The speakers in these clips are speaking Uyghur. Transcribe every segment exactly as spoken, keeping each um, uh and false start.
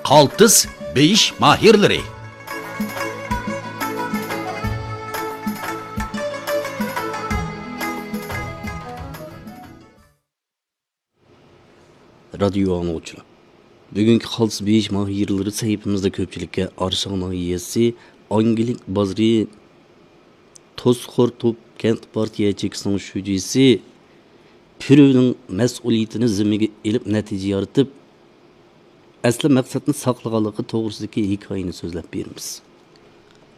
قالتىس بېيىش ماھىرلىرى. رادىيو ئاڭلىغۇچىلار، بۈگۈنكى قالتىس بېيىش ماھىرلىرى سەھىپىمىزدە كۆپچىلىككە ئارىشاڭ ناھىيەسى ئاڭگىلىك بازىرى توسخورتوپ كەنت پارتىيە ياچېيكىسىنىڭ شۇجىسى پۈرۈۋنىڭ مەسئۇلىيىتىنى زىممىگە ئېلىپ نەتىجە يارىتىپ، ئەسلى مەقسەتنى ساقلىغانلىقى توغرىسىدىكى ھېكايىنى سۆزلەپ بېرىمىز.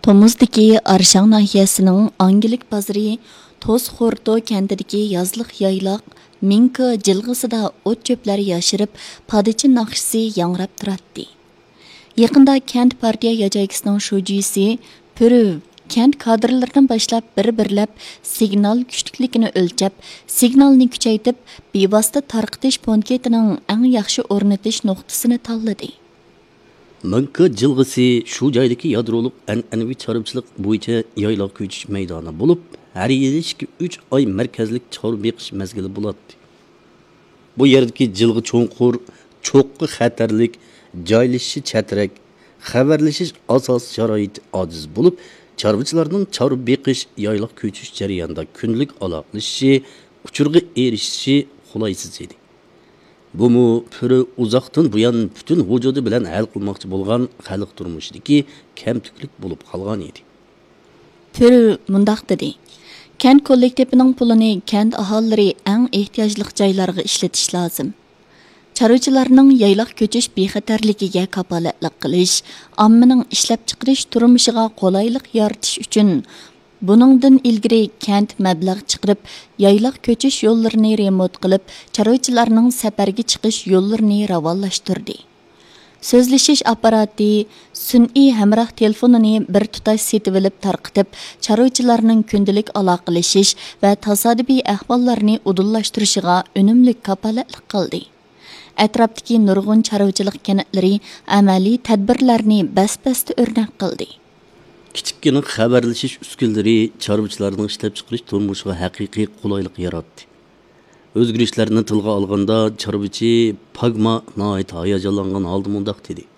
تومۇزدىكى ئارىشاڭ ناھىيەسىنىڭ ئاڭگىلىك بازىرى توسخورتو كەنتىدىكى يازلىق يايلاق مىڭكا جىلغىسىدا ئوت-چۆپلەر ياشىرىپ، پادىچى ناخشىسى ياڭراپ تۇراتتى. يېقىندا كەنت پارتىيە ياچېيكىسىنىڭ شۇجىسى پۈرۈۋ كەنت كادىرلىرىدىن باشلاپ بىر-بىرلەپ سىگنال كۈچلۈكلۈكىنى ئۆلچەپ، سىگنالنى كۈچەيتىپ، بىۋاسىتە تارقىتىش پونكىتىنىڭ ئەڭ ياخشى ئورنىتىش نۇقتىسىنى تاللىدى. مىڭكا جىلغىسى شۇ جايدىكى يادرولۇق ئەنئەنىۋى چارۋىچىلىق بويىچە يايلاق كۆچۈش مەيدانى بولۇپ، ھەر يىلى ئىككى، ئۈچ ئاي مەركەزلىك چارۋا بېقىش مەزگىلى بولاتتى. بۇ يەردىكى جىلغا چوڭقۇر، چوققا خەتەرلىك، جايلىشىشى چەترەك، خەۋەرلىشىش ئاساسىي شارائىتى ئاجىز بولۇپ، چارۋىچىلارنىڭ چارۋا بېقىش، يايلاق كۆچۈش جەريانىدا كۈندىلىك ئالاقىلىشىشى، ئۇچۇرغا ئېرىشىشى قولايسىز ئىدى. بۇمۇ پۈرۈ ئۇزاقتىن بۇيان پۈتۈن ۋۇجۇدى بىلەن ھەل قىلماقچى بولغان خەلق تۇرمۇشىدىكى كەمتۈكلۈك بولۇپ قالغان ئىدى. پۈرۈ مۇنداق دېدى: كەنت كوللېكتىپىنىڭ پۇلىنى كەنت ئاھالىلىرى ئەڭ ئېھتىياجلىق جايلارغا ئىشلىتىش لازىم. چارۋىچىلارنىڭ يايلاق كۆچۈش بىخەتەرلىكىگە كاپالەتلىك قىلىش، ئاممىنىڭ ئىشلەپچىقىرىش تۇرمۇشىغا قولايلىق يارىتىش ئۈچۈن، بۇنىڭدىن ئىلگىرى كەنت مەبلەغ چىقىرىپ، يايلاق كۆچۈش يوللىرىنى رېمونت قىلىپ، چارۋىچىلارنىڭ سەپەرگە چىقىش يوللىرىنى راۋانلاشتۇردى. سۆزلىشىش ئاپپاراتى، سۈنئىي ھەمراھ تېلېفونىنى بىر تۇتاش سېتىۋېلىپ تارقىتىپ، چارۋىچىلارنىڭ كۈندىلىك ئالاقىلىشىش ۋە تاسادىپىي ئەھۋاللارنى ئۇدۇللاشتۇرۇشىغا ئۈنۈملۈك كاپالەتلىك قىلدى. ئەتراپتىكى نۇرغۇن چارۋىچىلىق كەنتلىرى ئەمەلىي تەدبىرلەرنى بەس-بەستە ئۆرنەك قىلدى. كىچىككىنە خەۋەرلىشىش ئۈسكۈنىلىرى چارۋىچىلارنىڭ ئىشلەپچىقىرىش تۇرمۇشىغا ھەقىقىي قولايلىق ياراتتى. ئۆزگىرىشلەرنى تىلغا ئالغاندا، چارۋىچى پاگما ناھايىتى ھاياجانلانغان ھالدا مۇنداق دېدى: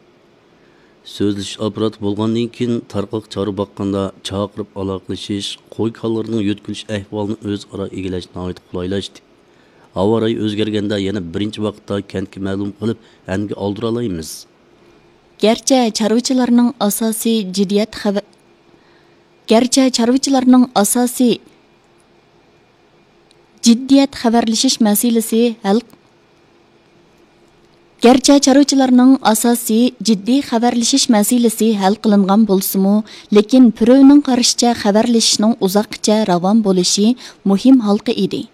سۆزلىشىش ئاپپاراتى بولغاندىن كېيىن، تارقاق چارۋا باققاندا چاقىرىپ ئالاقىلىشىش، قوي-كالىلىرىنىڭ يۆتكىلىش ئەھۋالىنى ئۆزئارا ئىگىلەش ناھايىتى قولايلاشتى. ھاۋا رايى ئۆزگەرگەندە يەنە بىرىنچى ۋاقىتتا كەنتكە مەلۇم قىلىپ، ئەنگە ئالدۇرالايمىز. گەرچە چارۋىچىلارنىڭ ئاساسىي جىددىيەت خەۋە-، گەرچە چارۋىچىلارنىڭ ئاساسىي جىددىيەت خەۋەرلىشىش مەسىلىسى ھەل، گەرچە چارۋىچىلارنىڭ ئاساسىي جىددىي خەۋەرلىشىش مەسىلىسى ھەل قىلىنغان بولسىمۇ، لېكىن پۈرۈۋنىڭ قارىشىچە، خەۋەرلىشىشنىڭ ئۇزاققىچە راۋان بولۇشى مۇھىم ھالقا ئىدى.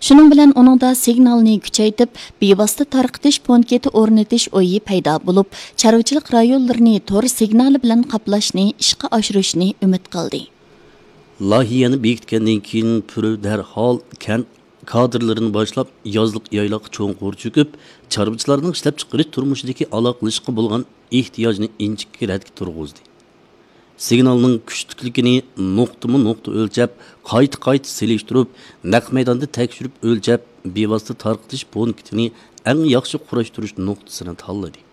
شۇنىڭ بىلەن ئۇنىڭدا سىگنالنى كۈچەيتىپ، بىۋاسىتە تارقىتىش پونكىتى ئورنىتىش ئويى پەيدا بولۇپ، چارۋىچىلىق رايونلىرىنى تور سىگنالى بىلەن قاپلاشنى ئىشقا ئاشۇرۇشنى ئۈمىد قىلدى. لايىھەنى بېكىتكەندىن كېيىن، پۈرۈ دەرھال كەنت كادىرلىرىنى باشلاپ، يازلىق يايلاققا چوڭقۇر چۆكۈپ، چارۋىچىلارنىڭ ئىشلەپچىقىرىش تۇرمۇشىدىكى ئالاقىلىشىشقا بولغان ئېھتىياجنى ئىنچىكە رەتكە تۇرغۇزدى. سىگنالنىڭ كۈچلۈكلۈكىنى نۇقتىمۇ نۇقتا ئۆلچەپ، قايتا-قايتا سېلىشتۇرۇپ، نەق مەيداندا تەكشۈرۈپ ئۆلچەپ، بىۋاسىتە تارقىتىش پونكىتىنى ئەڭ ياخشى قۇراشتۇرۇش نۇقتىسىنى تاللىدى.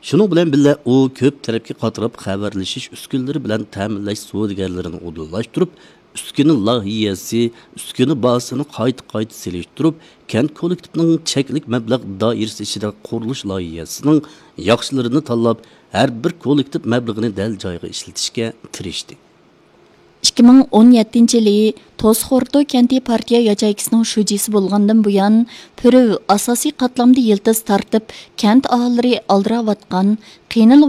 شۇنىڭ بىلەن بىللە، ئۇ كۆپ تەرەپكە قاتراپ خەۋەرلىشىش ئۈسكۈنىلىرى بىلەن تەمىنلەش سودىگەرلىرىنى ئۇدۇللاشتۇرۇپ، ئۈسكۈنە لايىھەسى، ئۈسكۈنە بازىسىنى قايتا-قايتا سېلىشتۇرۇپ، كەنت كوللېكتىپىنىڭ چەكلىك مەبلەغ دائىرىسى ئىچىدە قۇرۇلۇش لايىھەسىنىڭ ياخشىلىرىنى تاللاپ، ھەر بىر كوللېكتىپ مەبلىغىنى دەل جايىغا ئىشلىتىشكە تىرىشتى. ئىككى مىڭ ئون يەتتىنچى يىلى توسخورتو كەنتى پارتىيە ياچېيكىسىنىڭ شۇجىسى بولغاندىن بۇيان، پۈرۈۋ ئاساسىي قاتلامدا يىلتىز تارتىپ، كەنت ئاھالىلىرى ئالدىراۋاتقان، قىينىلىۋاتقان